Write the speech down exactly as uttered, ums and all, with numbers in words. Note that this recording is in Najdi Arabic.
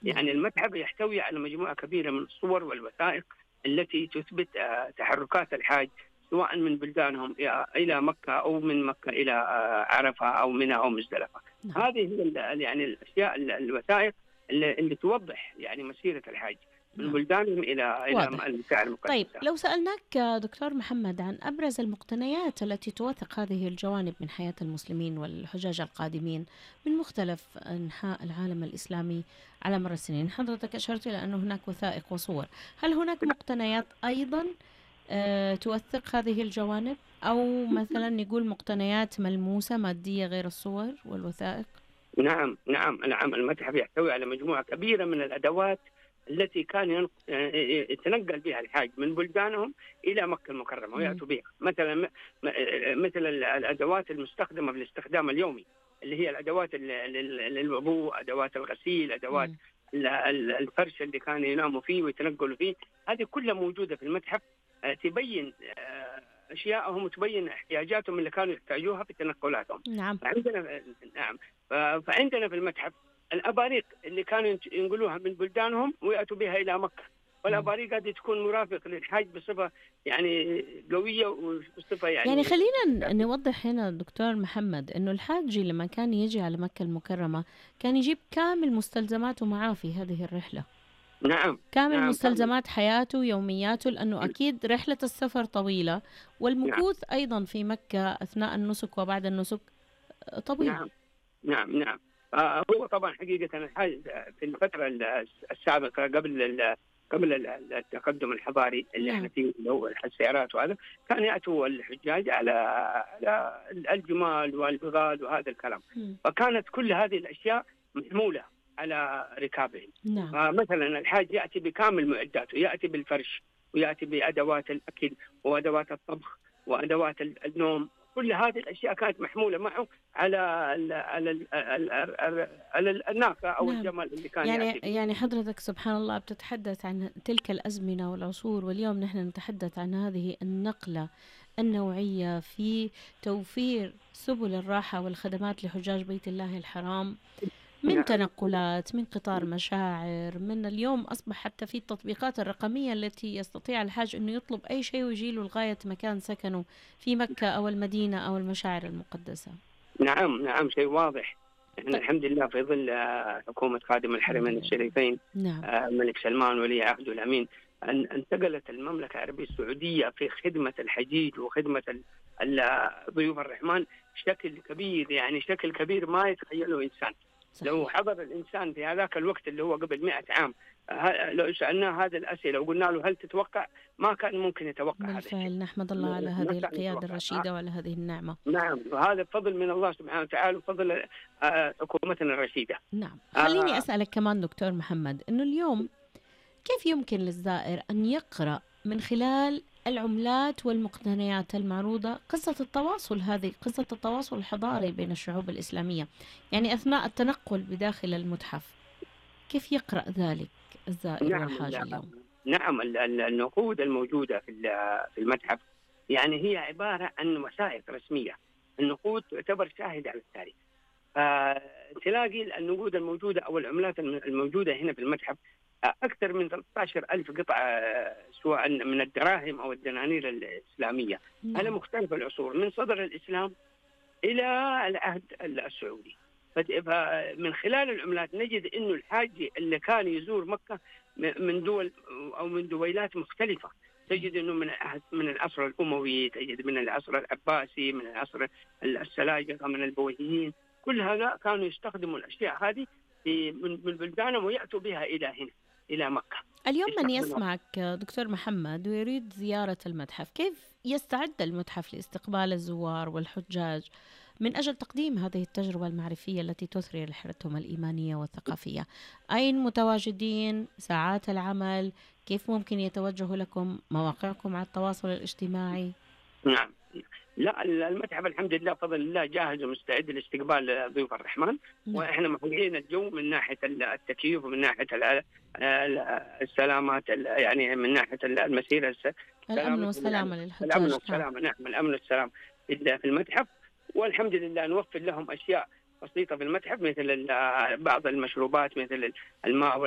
نعم. يعني المتحف يحتوي على مجموعة كبيرة من الصور والوثائق التي تثبت آه، تحركات الحاج سواء من بلدانهم إلى مكة أو من مكة إلى آه، عرفة أو منى أو مزدلفة. نعم. هذه هي ال- يعني الأشياء ال- الوثائق اللي, اللي توضح يعني مسيرة الحاج من نعم. بلدانهم إلى إلى واضح. المكة المقدسة. طيب لو سألناك آه، دكتور محمد عن أبرز المقتنيات التي توثق هذه الجوانب من حياة المسلمين والحجاج القادمين من مختلف أنحاء العالم الإسلامي على مر السنين، حضرتك أشرت إلى أن هناك وثائق وصور، هل هناك مقتنيات أيضا آه، توثق هذه الجوانب، أو مثلا نقول مقتنيات ملموسة مادية غير الصور والوثائق؟ نعم نعم نعم المتحف يحتوي على مجموعة كبيرة من الأدوات التي كان ين- يتنقل بها الحاج من بلدانهم إلى مكة المكرمة ويأتوا بها، مثلا م- م- مثل ال- الأدوات المستخدمة في الاستخدام اليومي اللي هي الأدوات ال- ال- للوضوء، أدوات الغسيل، أدوات مم. ال- ال- الفرش اللي كانوا يناموا فيه ويتنقلوا فيه، هذه كلها موجودة في المتحف. آه، تبين آه، أشياءهم وتبين احتياجاتهم اللي كانوا يحتاجوها في تنقلاتهم. نعم. فعندنا نعم ف- فعندنا في المتحف الأباريق اللي كانوا ينت- ينقلوها من بلدانهم ويأتوا بها إلى مكة، والأباريق هذه تكون مرافق للحاج بصفة يعني قوية وصفة يعني يعني خلينا ن- نوضح هنا دكتور محمد أنه الحاج لما كان يجي على مكة المكرمة كان يجيب كامل مستلزماته معاه في هذه الرحلة، نعم كامل نعم مستلزمات حياته يومياته، لأنه أكيد رحلة السفر طويلة نعم والمكوث أيضا في مكة أثناء النسك وبعد النسك طويل. نعم نعم نعم آه، هو طبعا حقيقة الحاج في الفترة ال- السابقة قبل ال- قبل ال- التقدم الحضاري اللي احنا نعم. فيه اللي هو السيارات وهذا، كان يأتوا الحجاج على على الجمال والبغال وهذا الكلام، مم. فكانت كل هذه الأشياء محمولة على ركابهم. نعم. فمثلا الحاج يأتي بكامل معداته، يأتي بالفرش ويأتي بأدوات الأكل وأدوات الطبخ وأدوات ال- النوم، كل هذه الأشياء كانت محمولة معه على ال على ال على, على الناقة أو نعم. الجمل اللي كان يعني يأتي به. يعني حضرتك سبحان الله بتتحدث عن تلك الأزمنة والعصور، واليوم نحن نتحدث عن هذه النقلة النوعية في توفير سبل الراحة والخدمات لحجاج بيت الله الحرام، من نعم تنقلات، من قطار مشاعر، من اليوم أصبح حتى في التطبيقات الرقمية التي يستطيع الحاج أنه يطلب أي شيء ويجيله لغاية مكان سكنه في مكة أو المدينة أو المشاعر المقدسة. نعم نعم شيء واضح. احنا طيب. الحمد لله في ظل آه، حكومة خادم الحمد الحرمين لله. الشريفين نعم. آه، الملك سلمان ولي عهده الأمين، أن انتقلت المملكة العربية السعودية في خدمة الحجيج وخدمة ال- ال- ضيوف الرحمن شكل كبير، يعني شكل كبير ما يتخيله إنسان. لو صحيح. حضر الإنسان في هذاك الوقت اللي هو قبل مئة عام، ه- لو سألناه هذه الأسئلة وقلنا له هل تتوقع، ما كان ممكن يتوقع هذا الشيء. بالفعل نحمد الله على ما هذه كان القيادة يتوقع. الرشيدة وعلى هذه النعمة. نعم، وهذا فضل من الله سبحانه وتعالى وفضل آه، حكومتنا الرشيدة. نعم. خليني آه، أسألك كمان دكتور محمد أنه اليوم كيف يمكن للزائر أن يقرأ من خلال العملات والمقتنيات المعروضة قصة التواصل هذه، قصة التواصل الحضاري بين الشعوب الإسلامية، يعني أثناء التنقل بداخل المتحف، كيف يقرأ ذلك الزائر نعم والحاج ال- اليوم؟ نعم ال- ال- النقود الموجودة في ال- في المتحف يعني هي عبارة عن وثائق رسمية. النقود تعتبر شاهدة على التاريخ، فتلاقي النقود الموجودة أو العملات الم- الموجودة هنا في المتحف آه، أكثر من ثلاثة عشر ألف قطعة، آه، سواء من الدراهم أو الدنانير الإسلامية على نعم. مختلف العصور من صدر الإسلام إلى العهد السعودي. فت- فمن خلال العملات نجد إنه الحاج اللي كان يزور مكة م- من دول أو من دويلات مختلفة، تجد إنه من العهد- من العصر الأموي، تجد من العصر العباسي، من العصر السلاجقة، من البويهيين، كل هذا كانوا يستخدموا الأشياء هذه في من من بلدانهم ويأتوا بها إلى هنا إلى مكة. اليوم من يستخدموها. يسمعك دكتور محمد ويريد زيارة المتحف، كيف يستعد المتحف لاستقبال الزوار والحجاج من أجل تقديم هذه التجربة المعرفية التي تثري رحلتهم الإيمانية والثقافية؟ أين متواجدين؟ ساعات العمل؟ كيف ممكن يتوجهوا لكم؟ مواقعكم على التواصل الاجتماعي؟ نعم، لا المتحف الحمد لله بفضل الله جاهز ومستعد لاستقبال ضيوف الرحمن، نعم. واحنا مهيئين الجو من ناحيه التكييف ومن ناحيه ال- ال- السلامات، ال- يعني من ناحيه المسيره الس- الأمن سلامة والسلامة الامن للحجاج. نعم. والسلامه. نعم الامن والسلام في في المتحف، والحمد لله نوفر لهم اشياء بسيطه في المتحف مثل ال- بعض المشروبات مثل الماء